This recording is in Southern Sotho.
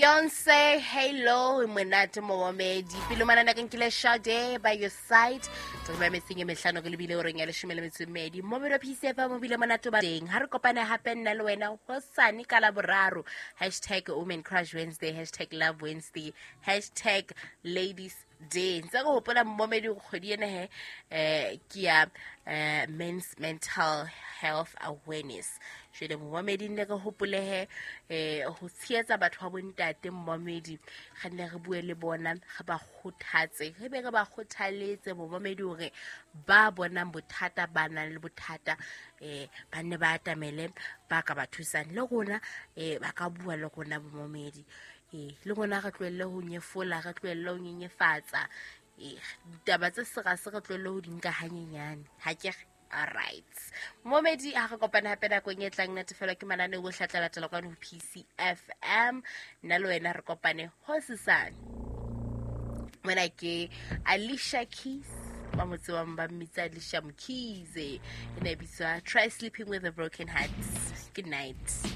Beyonce, Halo, monate momamedi. Pele manana ke nkile Sade by your side. Tse ba metseng e mehlano ke lebile horeng ya 18. Momedi wa PCF mobile monate ba teng. Ha re kopane hape nna le wena hosane ka la boraro. #WomenCrushWednesday, #LoveWednesday, #LadiesDay. Ntse re hopola momedi hore kgwedi ena he ke ya Men's Mental Health Awareness. Jwale momedi nne re hopole he ho tshehetsa batho ba bontate momedi, re nne re bue le bona, re ba kgothatse, re be re ba kgothaletse momedi hore ba bonang bothata, ba nang le bothata, ba nne ba atamele ba ka ba thusang le rona, ba ka bua le rona momedi. Le rona re tlohelle ho nyefola, re tlohelle ho nyenyefatsa, ditaba tse serase re tlohelle ho di nka hanyenyane. Ha ke re all right momedi, ha re kopane hape nakong e tlang, natefelwa ke mananeo ohle a tla latela kwano ho PCFM. Nna le wena re kopane hosesane. Mona ke Alicia Keys, ba mo tsebang ba mmitsa Alicia Mkhize, e ne e bitswa Try Sleeping with a Broken Heart. Good night.